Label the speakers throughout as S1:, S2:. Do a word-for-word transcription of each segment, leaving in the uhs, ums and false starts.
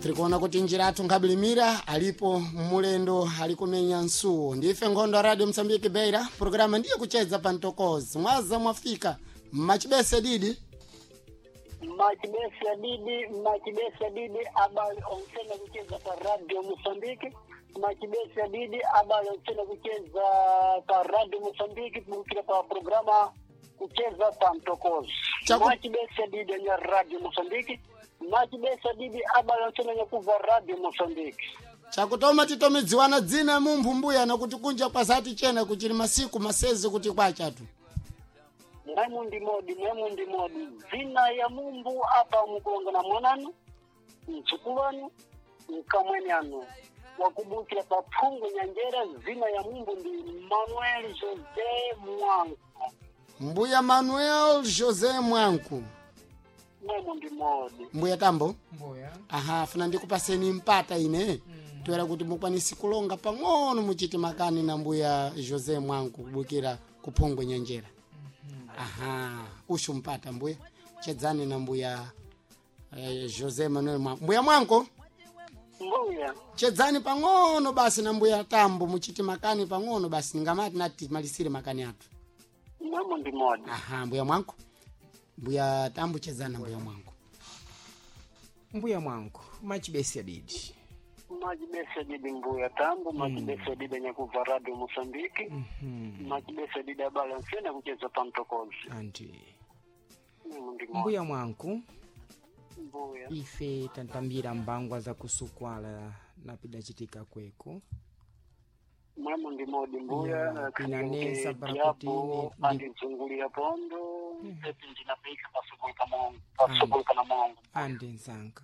S1: Tiri kuona kuti njira athu nkabilimira alipo mulendo ali kumenya nsuwo. Ndife nkhondo ya Radio Msambiki Beira, programa ndiye Kucheza pa Mtokozi. Mwaza mwafika mmachibese didi.
S2: Machibesi ya didi, machibesi ya didi, abali onsena kucheza pa Radio Mosambiki. Machibesi ya didi, abali onsena kucheza pa Radio Mosambiki, kubukira pa programa Kucheza pa Mtokozi.
S1: Chaku-
S2: Machibesi ya didi ya Radio Mosambiki. Machibesi ya didi, abali onsena nyakuva Radio Mosambiki.
S1: Chakutoma titomidziwana dzina mumphu mbuya nakuti kunja kwasati chena kuchili masiku masezi kuti kwachatu.
S2: Mwemu ndi modi, mwemu ndi modi. Zina ya mumbu apa mukulonga na mwananu, mtsukulanu, mkamwene anu wakubukira pa phungu nyanjera. Zina ya mumbu ndi Manuel Jose Mwanku.
S1: Mbuya Manuel José Mwanku.
S2: Mwemu ndi modi.
S1: Mbuya Tambo.
S3: Mbuya.
S1: Aha, funa ndikupaseni mpata ine mm. toera kuti mukwanisi kulonga pang'ono muchiti makani na mbuya José Mwanku kubukira kuphongwe nyenjera. Aha, ushu mpata mbuya, chedzani na mbuya eh, José Manuel Mwanku. Mbuya Mwanku.
S2: Mbuya.
S1: Chedzani pang'ono basi na mbuya Tambo, muchiti makani pang'ono basi, ningamati nati malisire makani athu.
S2: Mwemu ndi modi.
S1: Aha, mbuya Mwanku, mbuya Tambo, chedzani na mbuya Mwanku.
S3: Mbuya mwangu, machibesi adidi.
S2: Machibesi didi mbuya Tambo, machibesi didi nyakuva Radio Mosambiki, machibesi didi abala nsena kucheza pa Mtokozi.
S3: Anti.
S2: Mwemu ndi modi.
S3: Mbuya mwangu.
S2: Mbuya.
S3: Ife tantambira mbangwa za kusukwala napidacitika kweko.
S2: Mwemu ndi modi mbuya.
S3: Ya, pinanesa
S2: Yapo
S3: parakutini
S2: andizungulira pondo epi ndinapika pasukuluka mongo, pasukuluka na mongo.
S3: Andi nzanga.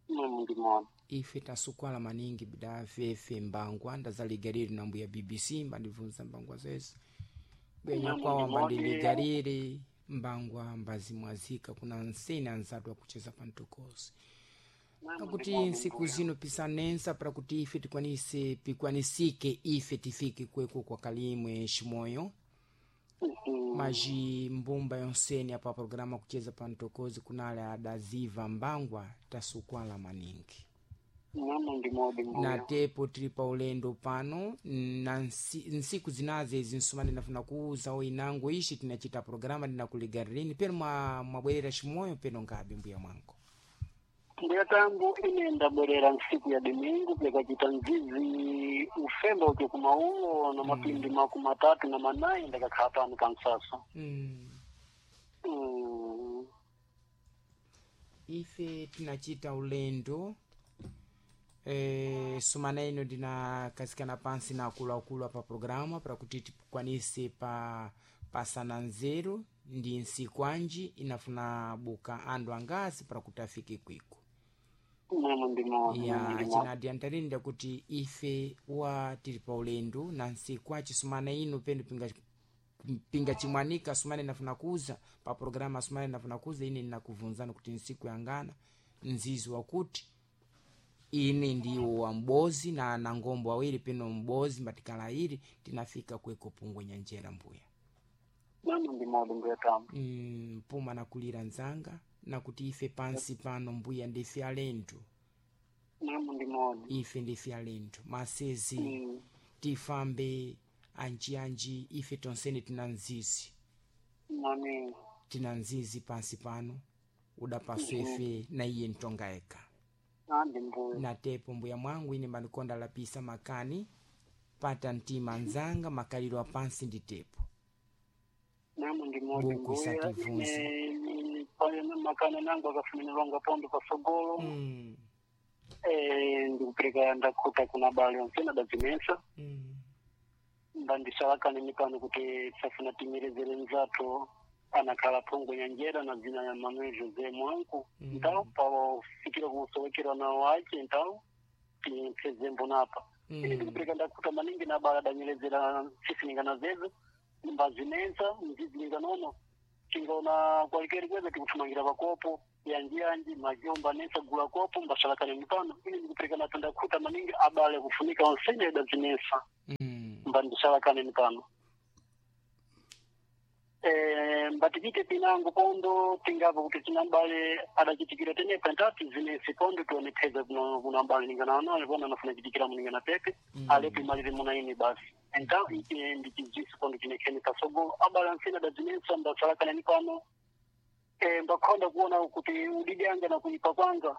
S2: Mwemu ndi modi.
S3: Ife tasukwala maningi bida fefe mbangwa ndazaligaliri na mbuya B B C mbandibvunza mbangwa zese bwenya
S2: Mwemu
S3: kwawa
S2: ndi modi.
S3: mbandiligaliri mbangwa mbazimwazika kuna nsene anzatu akucheza pa mtokozi.
S2: Mwemu ndi
S3: Pakuti
S2: modi
S3: nsiku
S2: mbuya.
S3: zino pisanensa para kuti ife tikwanise pikwanisike ife tifike kweko kwa kalimwe ximoyo.
S2: Mhm.
S3: Maji mbumba yonsene apa programa Kucheza pa Mtokozi kunale adaziva mbangwa tasukwala maningi.
S2: Mwemu ndi modi
S3: Na
S2: mbuya.
S3: tepo tili pa ulendo pano na nsi- nsiku zinaze izi nsoma ndinafuna kuuza oinango ishi tinachita programa ndinakuligarilini peno mwa- mwabwerera ximoyo peno ngabe mbuya mwangu.
S2: Mbuya Tambo, ine ndabwerera nsiku ya domingo pyakachita nzizi ufemba uke kumaulo na mapindi makumi matatu na manayi ndakakhala pano pa msasa.
S3: mm.
S2: Mm.
S3: Ife tinachita ulendo e, sumana ino ndinakasikana pansi na akuluakulu apa programa para kuti tikwanise pa pasana nzeru ndi nsiku anji inafuna buka andu angasi para kuti afike kwiko.
S2: Mwemu ndi modi, mwemu
S3: Ya.
S2: ndi modi.
S3: Chinadiantalinda kuti ife wa tili pa ulendo na nsiku aci sumana ino pendo pinga pinga chimwanika sumane nafuna kuza pa programa sumane nafuna kuza ine ninakuvunzana kuti nsiku yangana nzizi wakuti ine ndiwo wa mbozi na na ngombo awiri peno mbozi mbatikala ili tinafika kweko pungwe nyanjera mbuya.
S2: Mwemu ndi modi mbuya Tambo.
S3: mm, puma nakulira nzanga nakuti ife pansi pano mbuya ndife alendo.
S2: Mwemu ndi modi.
S3: Ife ndife alendo masezi.
S2: Mm.
S3: Tifambe anjianji ife tonsene tina nzizi.
S2: Mami.
S3: Tina nzizi pansi pano udapaswa ife na iye ntonga eka.
S2: Andi mbuya.
S3: Na tepo mbuya mwangu ine mbanikonda lapisa makani pata mtima nzanga makaliro apansi ndi tepo.
S2: Mwemu ndi modi
S3: Buku
S2: mbuya.
S3: isatibvunza.
S2: Ine pale makani nangu akafuminirwanga pondo pasogolo.
S3: mm.
S2: Eh, ndikupereka ndakhuta kuna bale onsena dazinensa.
S3: mm.
S2: Mbandisalakani pano kuti tisafuna timirezere nzathu anakhala phungu nyanjera na dzina ya Manuel Jose Mwanku.
S3: Mm.
S2: Ntawo pawafikira kusowekera nawo ace ntawo tipfeze mbonapa. Ine
S3: mm.
S2: ndikupereka ndakhuta maningi na bala danyerezera sisininga zezo mbazinensa mzizininga nono tingaona kwalikeri kweza tikuthumangira pakopo yanjiyanji majomba nesa gula kopo mbasalakani mipano. Ine ndikupereka nato ndakhuta maningi abale kufunika onsene dazinensa.
S3: mm.
S2: Mbandisalakani mipano. Eh, mbatikite pinango pondo tingapo kuti tinambale adachitikira tenepa ntati zinesi pondo tionepheza kuno kunambale ninganaonale pona anafuna chitikira muningana pepe
S3: Mm.
S2: alepo imalire muna ine basi enta ichi ndichidziso pondo chinekheni pasogolo abale ansene adazinensa mbasalakanani pano eh, mbakhonda kuona kuti udidi anga na kuipa kwanga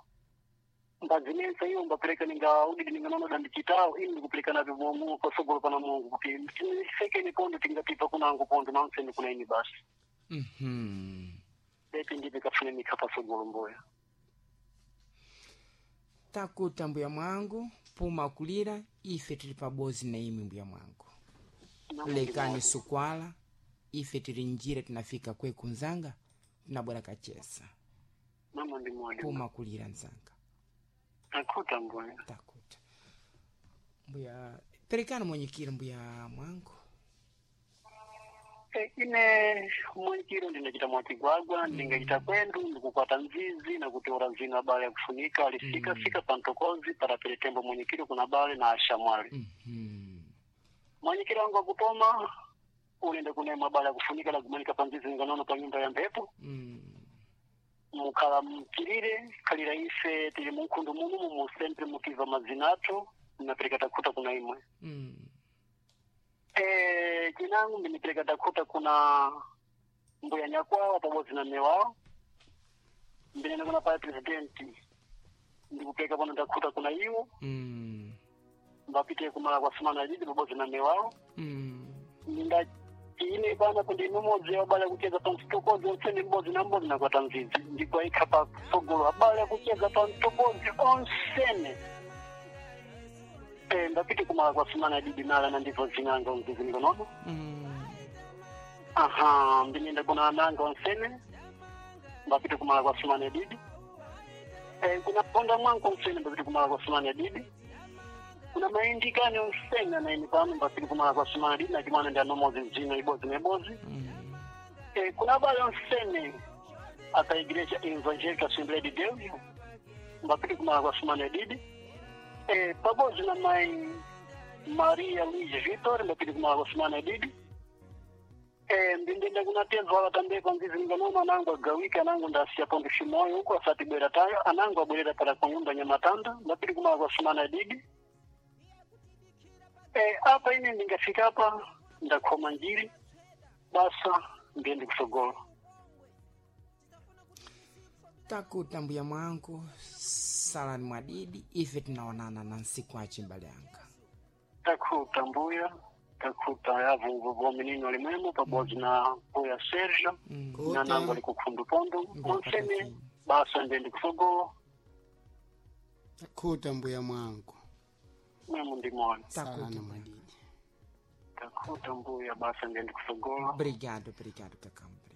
S2: mbazinensa iyo mbapereka ninga udidi ninganono dandichitawo ini ndikupereka navyo mu pasogolo pana Mungu kuti tisekeni pondo tingatipa kunango pondo nansene kuna ini basi
S3: Mhm.
S2: pepe ndipe kafunanika pasogolo mboya
S3: Takuta mbuya mwangu puma kulira ife tili pabozi na imwe mbuya mwangu lekani sukwala ife tili njira tinafika kweku nzanga tinabwera kachesa
S2: namo ndi modi
S3: puma kulira nzanga
S2: takuta mboya
S3: takuta mbuya perekani mwenyekiro mbuya mwangu
S2: Eh, ine mwenyekiro ndinachita mwachigwagwa ndingachita kwendu ndikukwata nzizi nakuteura zina bale yakufunika alisika
S3: Mm.
S2: fika pantokozi parapele tembo mwenyekiro kuna bale na ashamwali
S3: Mhm.
S2: mwenyekiro wangu akutoma ulende kunema bale yakufunika lakumanika panzizi nganono pa nyumba ya mphepo
S3: Mm.
S2: mukhala mkilire khalira ife tili munkhundu muno mumu sempre mukiva mazina athu mnapereka takhuta kuna imwe
S3: Mm.
S2: Eh, chinangu ndinipereka takhuta kuna mbuya nyakwawa pabodzi na mme wawo ndinene kuna paya presidenti ndikupereka pano ndakhuta kuna iwo
S3: Mm.
S2: mbapite kumala kwa sumana lidi pabodzi na mme wawo
S3: Mm.
S2: ndinda ine pana kuti mumodzi wabale kucheza pa mtokozi onse ndi m'bodzi na m'bodzi nakwata mzizi ndikuayikha pa sogolo abale kucheza pa mtokozi onsene Eh, ndapite kumala kwa sumana didi nala na ndibvo zinanga mzizi ndikonono
S3: Mm.
S2: aha ndinenda kuna ananga onsene mbapite kumala kwa sumana didi eh, kuna ponda mwangu onsene mbapite kumala kwa sumana didi kuna maindikani onsene anaini pano mbapite kumala kwa sumana didi nachimwana ndi anomozi zino ibodzi na ibodzi
S3: Mm.
S2: Eh, kuna abale onsene aka igreja evangélica assembleia de deus mbapite kumala kwa sumana didi eh, pabodzi na mai maria luiz vitor mbapite kumala kwa sumana didi eh, ndindenda kuna tezwala tambe panzizi nganono anangu agawika anangu ndasiya pondo chimoyo huko asati bwera tayo anangu abwerera para kwa nyumba nyamatanda mbapite kumala kwa sumana didi eh, apa ine ndingafika apa ndakhoma njiri basa ndiyende kusogolo
S3: Takuta mbuya mwangu salani mwadidi ife tinaonana na nsiku achi mbale yanga
S2: takhuta mbuya takhuta yavo vominino limwemo pabodzi na mbuya sergio
S3: Mm.
S2: na nango ali kukhundu pondo
S3: Mbuya
S2: onsene
S3: Patafini.
S2: basa ndiyende kusogolo
S1: Takuta mbuya mwangu
S2: mwemo ndimona
S1: salani
S3: Takuta
S1: mwadidi
S2: takhuta mbuya basa ndiyende kusogolo
S3: obrigado obrigado kakambre